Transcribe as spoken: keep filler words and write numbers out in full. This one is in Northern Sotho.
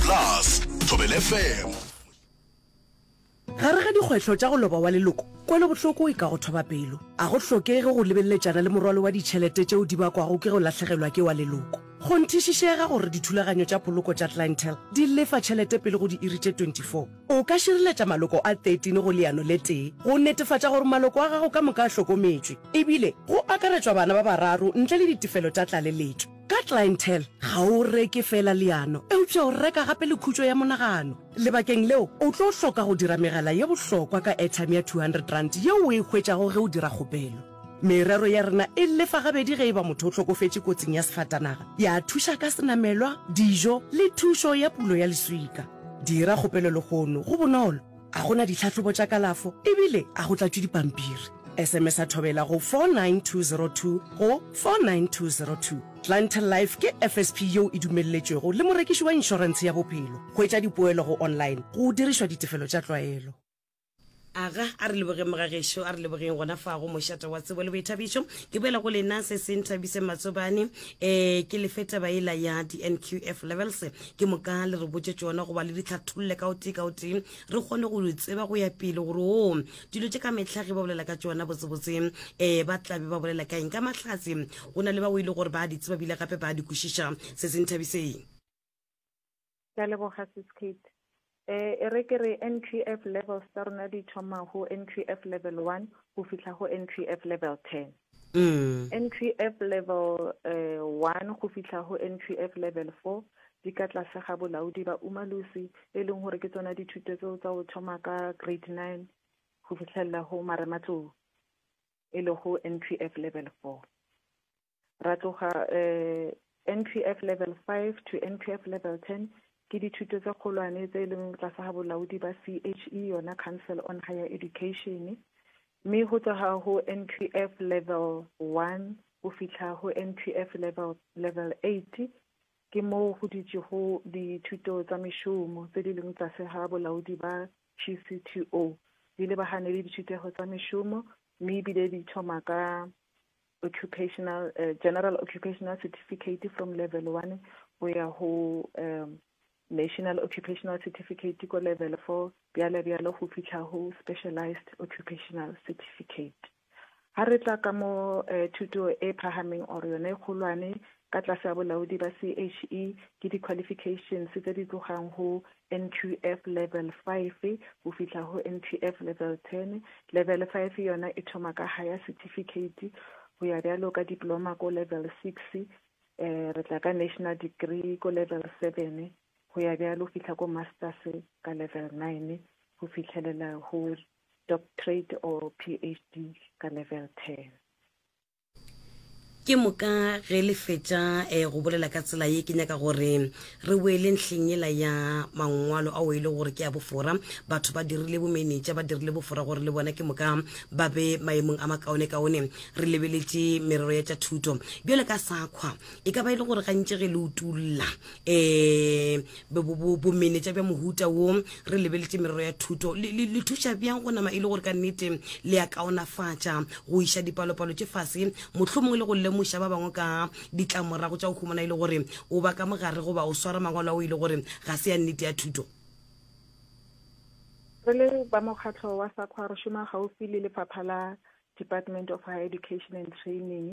Plus Thobela F M. Gare ga dikgwetlho tša go loba wa leloko, kwelobohloko e ka go thoba pelo. A go hlokege go lebeleletšana le morwalo wa ditšhelete tšeo di bakwago ke go lahlegelwa ke wa leloko. Kgonthišišega gore dithulaganyo tša poloko tša Clientele di lefa tšhelete pele go diiri tše twenty-four. O ka šireletša maloko a thirteen go leano le tee go netefatša gore maloko a gago ka moka a hlokometšwe, ebile go akaretšwa bana ba bararo ntle le ditefelo tša tlaleletšo. Ka Clientele, ga o reke feela leano, eupša o reka gape le khutšo ya monagano. Lebakeng leo, o tlo hloka go dira megala ye bohlokwa ka airtime ya two hundred rand yeo o e hwetšago ge o dira kgopelo. Merero ya rena e lefa gabedi ge e ba motho o hlokofetše kotsing ya sefatanaga, ya thuša ka senamelwa, dijo le thušo ya pulo ya leswika. Dira kgopelo lehono, go bonolo, a go na ditlhahlobo tša kalafo ebile a go tlatšwe dipampiri. S M S a Thobela go four nine two zero two go four nine two zero two. Clientele Life ke F S P yeo e dumelletšwego le morekiši wa inšorentshe ya bophelo. Hwetša dipoelo go online go dirišwa ditefelo tša tlwaelo. Aga, a re lebogeng mogagešo, a re lebogeng gona fa go Mošate wa Tsebo le Boithabišo. Ke boela go lena se se nthabise Matsobane, um ke lefe taba ela ya di-N Q F levels, ke moka le re botse tšona goba le di tlhatholle ka o tee ka o tee, re kgone go di tseba go ya pele gore o dilo tše ka mehla ge ba bolela ka tšona botsebotse um ba tlabe ba bolela ka eng. Ka mahlatse go na le ba o ile gore ba di tseba bile gape ba di kwešiša. Se se nthabiseng. Ke a leboga, Sis Kate. eh e re ke re N Q F levels tsa rona di thoma ho N Q F level one go fihla go N Q F level ten. mm. N Q F level eh, one go fihla go N Q F level four di ka tlase ga bolaodi ba Umalusi, e leng gore ke tsona dithuto tseo tsa go thoma ka grade nine go fitlhelela go marematlou, e le go N Q F level four. Ra tloga eh, N Q F level five to N Q F level ten ke dithuto tse kgolwane tse e leng tlase ga bolaodi ba C H E, yona Council on Higher Education, mme go tloga go N Q F level one go fihla go N Q F level level eight ke moo go ditšego dithuto tsa mešomo tse di leng tlase ga bolaodi ba G C T O, di lebagane le dithutego tsa mešomo, mme ebile di thoma ka occupational uh, general occupational certificate from level one go ya go um, national occupational certificate ko level four, bjale bjalo go fihla go specialized occupational certificate. Ha re tla ka mo eh, thuto e phahameng or yone e kgolwane ka tlase ya bolaodi ba C H E ke di-qualifications tse di tlogang go N Q F level five go fihla go N Q F level ten. Level five yona e thoma ka higher certificate go ya bjalo ka diploma ko level six, eh re tla ka national degree ko level seven, go ya bjalo fihla ko masters ka level nine, go fitlhelela go doctorate or P H D ka level ten. Ke moka ge le fetša um go bolela ka tsela ye, ke nyaka gore re boele ntlheng ela ya mangwalo ao e le gore ke a bofora. Batho ba dirile bomenetša, ba dirile bofora gore le bona ke moka ba be maemong a makaone-kaone. Re lebeletše merero ya tša thuto bjale ka SAQA, e ka ba e le gore gantši ge le utulla um bomenetša bja mohuta wo, re lebeletše merero ya thuto, le le- le thuša bjang go nama e le gore ka nnete le ya kaonafatša go iša dipalopalo tše fase, mohlomongwe le go lemoša ba bangwe ka ditlamorago tša go humana e le gore o ba ka mogare goba o swara mangwalo ao e le gore ga se ya nnete ya thuto? Re le ba mokgatlho wa SAQA re šoma gaufi le lefapha la Department of Higher Education and Training.